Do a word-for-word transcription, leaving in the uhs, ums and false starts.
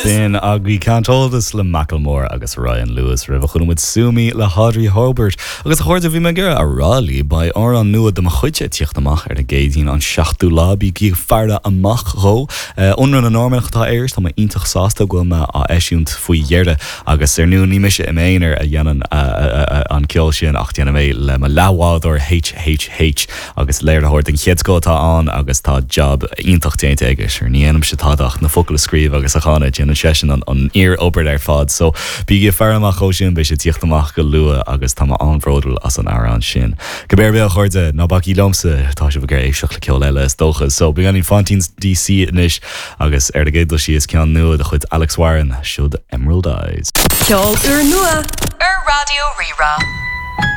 Sin agaibh Can't Hold Us le Macklemore agus Ryan Lewis roimhe chonaic muid Sue Me le Audrey Hobert agus a chairde bhí mé ag iarraidh a rá libh beidh amhrán nua de mo chuid ag tíocht amach ar an gCéadaoin an seachtú lá bígí ag faire amach dhó Ionradh na Normannach atá air tá mé iontach sásta go bhfuil mé á eisiúint faoi dheireadh agus ar ndóigh ní mise i m'aonar a dhéanann an ceol sin ach déanaim é le mo leathbhádóir HHH agus léiritheoir den chéad scoth atá ann agus tá job iontach déanta aige sure ní dhéanaimse tada ach na focail a scríobh agus a chanadh déanann seisean an an fhíorobair ar fad so bígí ag faire amach dhó sin beidh sé ag tíocht amach go luath agus tá mé an-bhródúil as an amhrán sin. Cibé ar bith a chairde ná bacaigí liomsa tá sibh ag éisteacht le ceol eile is dócha, so beagáinín Fontaines DC anois agus ar an gcéad dul síos ceann nua de chuid Alex Warren siod Emerald Eyes. Ceol úrnua ar Raidió Rí-Rá.